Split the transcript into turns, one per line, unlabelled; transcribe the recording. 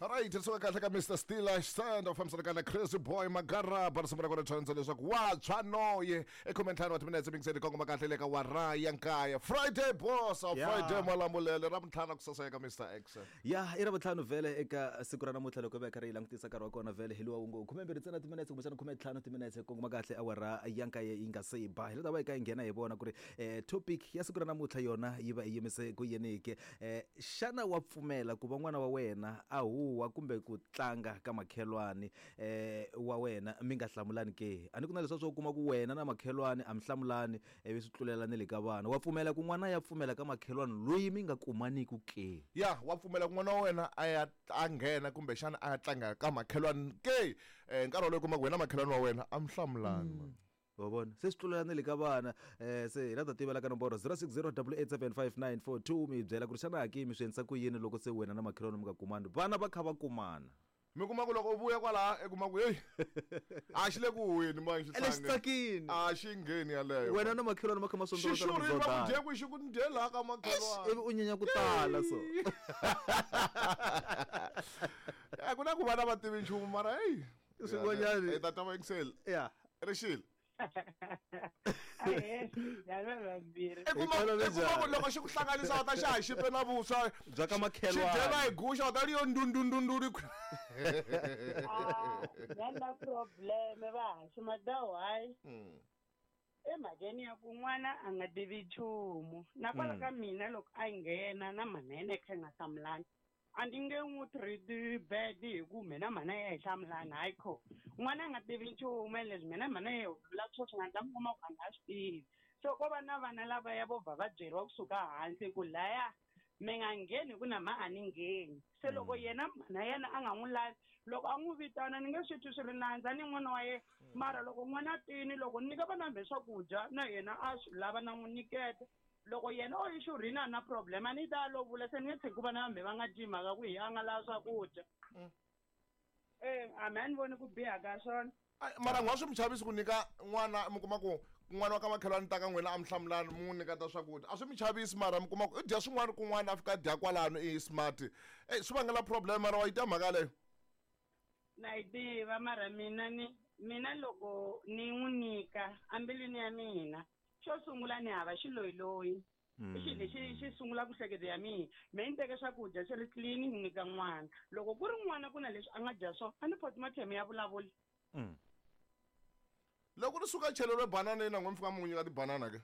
Alright, ri suka kahle ka Mr Steel Stand u fambisana ka na Crazy Boy Magaraba risimu ra kona dyondza leswaku wa tshwa noye e 15 wa timinetse mingiseni kongoma kahle le ka wara ya nkaya Friday boss
Yeah.
Friday malamulele ra vuntlhanu kusasa eka Mr X
Ya i ra vuntlhanu vhele eka siku ra namuntlha loko hi va hi karhi hi langutisa nkarhi wa kona vhele hi luwa wu ngo 12 ntsena timinetse kumbexana 15 timinetse kongoma kahle awara ya nkaye yi nga se ba hi la ta va hi kha hi nghena hi vona ku ri topic ya siku ra namuntlha yona yi va yi yimise ku yini ke. Xana wa pfumela ku va n'wana wa wena a huhwa kumbe ku tlanga ka makhelwani wa wena mi nga hlamulani ke? A ni ku na leswiya swo kuma ku wena na makhelwani a mi hlamulani ivi swi tlulela ni le ka vana. Wa pfumela ku n'wana a ya pfumela ka makhelwani loyi mi nga kumaniku ke?
Ya, wa pfumela ku n'wana wa wena a ya a nghena kumbexana a ya tlanga ka makhelwani ke? Nkarhi wolowo u kuma ku wena na makhelwani wa wena a mi hlamulani mani.
Wa vona se swi tlulela na le ka vana se hi la ta tivela ka nomboro 0608875942 mi hi byela ku ri xana ki mi swi endlisa ku yini loko se wena na makhelwani mi nga kumani vana va kha va kumana.
Mi kuma ku loko u vuya kwalaha i kuma ku heyi a xi le ku huheni mani
Ene xi tsakini.
A xi ngheni yaleyo.
Wena na makhelwani ma kha ma
xi
sondzolotana
xurhile va ku
muzondhana.
dye kwihi xi ku ni dye laha ka makhelwani.
Ivi u nyenya ku tala so.
A ku na ku vana va tivi nchumu mara heyi.
Swin'wanyana.
Hi ta twa vayingiseli.
Ya.
Rixile.
Ahee, njhani vambirhi?
I kuma
Hi tolo
i kuma ku
njhani?
loko xi ku hlanganisa u ta xa ha xipe na vuswa
Bya ka makhelwani.
xi dyela hi guxa u ta ri yo ndundundunduli
Ah, njhani na probleme va haxi madawu hayi emhakeni ya ku n'wana a nga tivi nchumu na kwala ka mina loko a nghena na mhana yena yi kha yi nga hlamulani A ni nge n'wi treat bad hi ku mina mhana ya hi hlamulana hayi kho n'wana a nga tivi nchumu ene leswi mina mhana ya vula swo swi nga ndla mi kuma ku a nga swi tivi so ko va na vana lavaya vo vha va byeriwa kusuka hansi ku laya mi nga ngheni hi ku na mha a ni ngheni se loko yena mhana yena a nga n'wi lavi loko a n'wi vitana ni nge swi twi swi ri nandza ni n'wana wa yena mara loko n'wana a tini loko ni nyika vana hambi swakudya na yena a swi lava na n'wi nyiketa Loko yena o yi xurhini a na problem a ni ta lo vula se ni nge tshiki ku vana va me va nga dyi mhaka ku hi a nga lava swakudya. Eh a me a ni voni ku biha ka swona.
Ai, mara n'wa swi mi chavisi ku nyika n'wana mi kuma ku n'wana wa ka makhelwani ta ka n'wina a mi hlamulani mi n'wi nyiketa swakudya a swi mi chavisi mara mi kuma ku i dya swin'wana kun'wana a fika a dya kwalano i smart e swi vangela problem mara wa yi twa mhaka yaleyo
Na yi tiva mara mina ni mina loko ni n'wi nyika embilwini ya mina Xo sungula ni hava xiloyiloyi. I xilo lexi xi sungula ku hleketo ya mina. Me ni teke swakudya swi ri clean ni nyika n'wana. Loko ku ri n'wana ku na leswi a nga dya swona, a ni postmortem ya vulavula.
Loko ri suka cheleriwe banana yini na n'we mi fika mi n'wi nyika tibanana ke?